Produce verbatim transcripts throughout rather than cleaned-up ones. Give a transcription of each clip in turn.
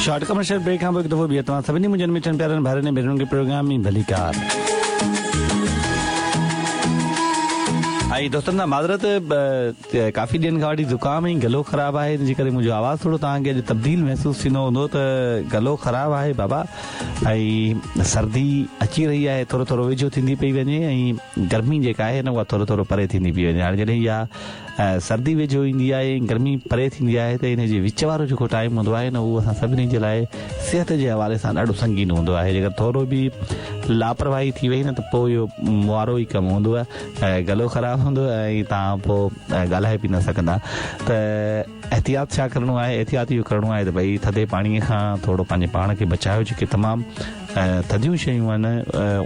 Short commercial break کان پوءِ هڪ دفعو ٻيهر توهان سڀني منهنجن مٺن پيارن ڀائرن ۽ ڀينرن کي پروگرام ۾ ڀليڪار. ۽ دوستن کان معذرت، ڪافي ڏينهن کان وٺي زڪام ۽ گلو خراب آهي، ان جي ڪري منهنجو آواز ٿورو توهان کي اڄ تبديل محسوس ٿيندو هوندو ته گلو خراب آهي بابا ۽ سردي اچي رهي آهي، ٿورو ٿورو ويجهو ٿيندي پئي وڃي ۽ گرمي جيڪا آهي نه اها ٿورو ٿورو پري ٿيندي پئي وڃي. هاڻي جڏهن اها سردي ويجهو ايندي آهي ۽ گرمي پري ٿيندي آهي ته ان جي وچ وارو جيڪو ٽائيم هوندو آهي نه اهو اسان سڀني جي لاء صحت جي حوالي سان ڏاڍو سنگين هوندو آهي. جيڪر ٿورو به لاپرواهي ٿي وئي نه ته پوءِ اهو وارو ئي ڪم هوندو آهي، گلو خراب هوندو آهي ۽ توهان پوءِ ڳالهائي به نه سگهندا. ته احتياط ڇا ڪرڻو آهي؟ احتياط اهو ڪرڻو آهي ته ڀئي ٿڌي پاڻيءَ کان ٿورو پنهنجي پاڻ کي بچايو. جيڪي تمام ٿڌيون شيون آهن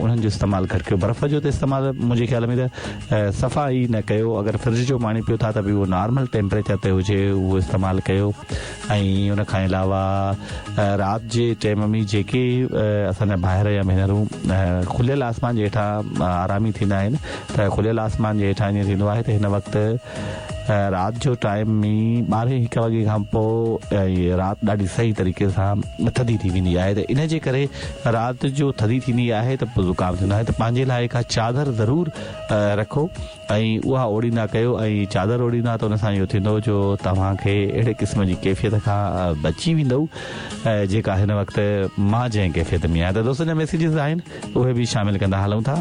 انهن جو استعمال گهٽ ڪيو. برف جو ته استعمال منهنجي خيال ۾ ته صفا ئي نه ڪيو. اگر فرج جو پاڻي پيو ٿا ته به اهو نارمل ٽيمپريچر تي هجي اهو استعمال ڪيو. ۽ ان کان علاوه رات جي ٽائيم ۾ جيڪي اسان جا ڀائر يا ڀينرون کليل آسمان جي هيٺان آرامي ٿيندا آهن ته کليل آسمان جي هيٺان ائين ٿيندو آهي ته هن وقت رات جو ٽائيم ۾ ٻارهين هڪ وڳي کان پوءِ رات ڏاڍي صحيح طريقي سان ٿڌي ٿي ويندي آهي ته ان جي ڪري رات جو ٿڌي ٿيندي آهي ته پوءِ زڪام ٿيندو آهي. ته پنهنجي لاءِ ڪا چادر ضرور رکو ۽ اها اوڙيندا ڪيو ۽ چادر اوڙيندا ته ان سان اهو ٿيندو جو توهان کي اهڙي قسم جي ڪيفيت کان بچي ويندو جيڪا هن وقت مان جنهن ڪيفيت ۾ آهيان. ته دوستن جا ميسيجز آهن اهي به شامل ڪندا هلون ٿا.